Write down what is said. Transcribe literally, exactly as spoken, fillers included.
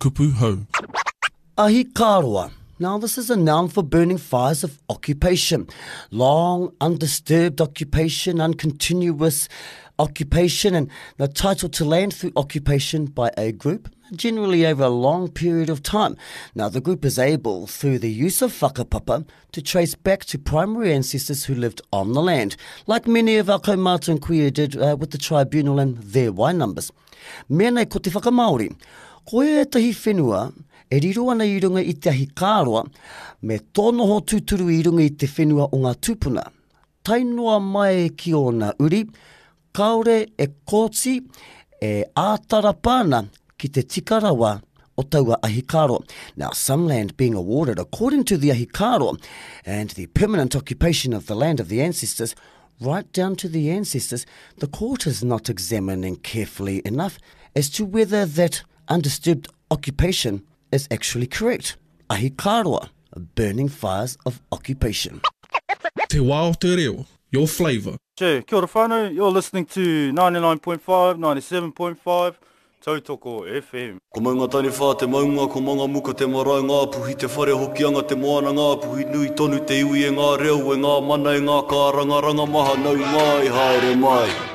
Kupu hou. Ahikāroa. Now, this is a noun for burning fires of occupation. Long, undisturbed occupation, uncontinuous occupation, and the title to land through occupation by a group, generally over a long period of time. Now, the group is able, through the use of whakapapa, to trace back to primary ancestors who lived on the land, like many of our kaumātua and kuia did uh, with the tribunal and their Y numbers. Mea nei ko te whakamāori. Ko ētahi whenua e riro ana i runga i te ahikāroa, me tō noho tūturu i runga i te whenua o ngā tūpuna. Tae noa mai ki ōna uri, kāore e kōti e āta rapa ana ki te tika rawa o taua ahikāroa. Now, some land being awarded according to the ahikāroa and the permanent occupation of the land of the ancestors, right down to the ancestors, the court is not examining carefully enough as to whether that undisturbed occupation is actually correct. Ahikāroa, burning fires of occupation. Te wā o te reo, your flavour. Che, kia ora whānau, you're listening to ninety-nine point five, ninety-seven point five, Tautoko F M. Ko Maungataniwha te maunga, ko Mangamuka te marae, Ngāpuhi te whare, Hokianga te moana, Ngāpuhi nui tonu te iwi e ngā reo, e ngā mana, e ngā kārangaranga maha, nau mai, haere mai.